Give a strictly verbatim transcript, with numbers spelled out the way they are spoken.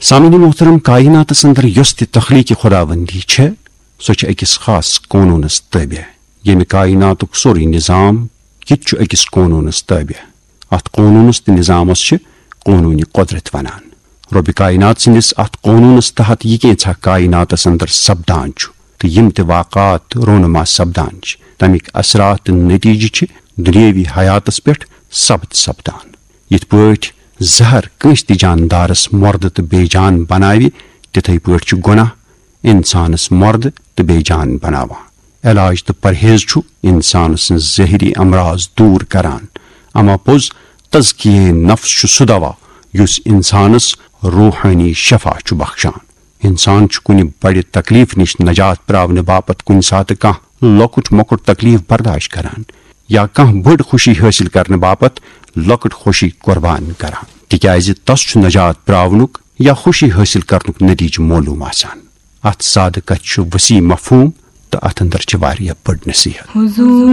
سامعین محترم، کائناتس اندر یۄس تہِ تخلیق خداوندی چھےٚ، سۄ چھِ أکِس خاص قونوٗنس تابع، ییٚمہِ کائناتُک سورُے نظام، یہِ تہِ چھُ أکِس قونوٗنس تابع۔ اتھ قونوٗنس تہٕ نظامس چھِ قونوٗنِ قدرت ونان۔ رۄبِ کائنات سٕنٛدِس اتھ قونوٗنس تحت یہِ کینٛژھا کائناتس اندر سپدان چھُ تہٕ یِم تہِ واقعات رونما سپدان چھِ، تمیِکۍ اثرات تہٕ نتیجہٕ چھِ دنیاوی حیاتس پٮ۪ٹھ ثبت سپدان۔ یِتھ پٲٹھۍ زہر کٲنٛسہِ تہِ جاندارس مۄردٕ تہٕ بے جان بناوِ، تِتھے پٲٹھۍ چھُ گۄناہ انسانس مۄردٕ تہٕ بے جان بناوان۔ علاج تہٕ پرہیز چھُ انسان سٕنٛز ظٲہری امراض دوٗر کران، اما پوٚز تزکیہ نفس چھُ سُہ دوا یُس انسانس روحٲنی شفا چھُ بخشان۔ انسان چھُ کُنہِ بڑِ تکلیف نِش نجات پراونہٕ باپتھ کُنہِ ساتہٕ کانٛہہ لۄکُٹ مۄکُٹ تکلیف برداشت کران یا کانٛہہ بٔڑ خوشی حٲصِل کرنہٕ باپتھ لۄکٕٹ خوشی قربان کران، تِکیازِ تس چھُ نجات پراونُک یا خوشی حٲصِل کرنُک نتیجہٕ معلوم آسان۔ اتھ سادٕ کتھِ چھُ وسیع مفہوم تہٕ اتھ اندر چھِ واریاہ بٔڑ نصیحت۔ حضور